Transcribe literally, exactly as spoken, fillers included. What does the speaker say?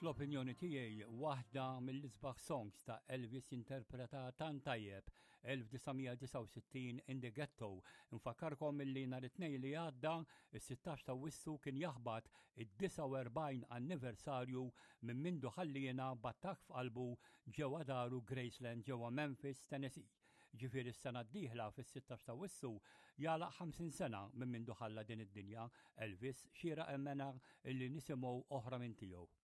Fl-opinjoni tiegħi, waħda mill-isbaħ songs ta' Elvis, interpreta tant tajjeb, elf disa' mija disgħa u sittin, "In the Ghetto". Nfakkarkom illi nhar it-Tnejn li għadda, is-sittax ta' Awwissu, kien jaħbat id-disgħa u erbgħin anniversarju minn mindu ħalliena b'attakk f'qalbu ġewwa daru Graceland ġewwa Memphis, Tennessee. Ġifieri s-sena d-dieħla fis-sittax ta' Awwissu jagħlaq ħamsin sena minn mindu ħalla din id-dinja Elvis. Xieraq immens illi nisimgħu oħra minn tiegħu.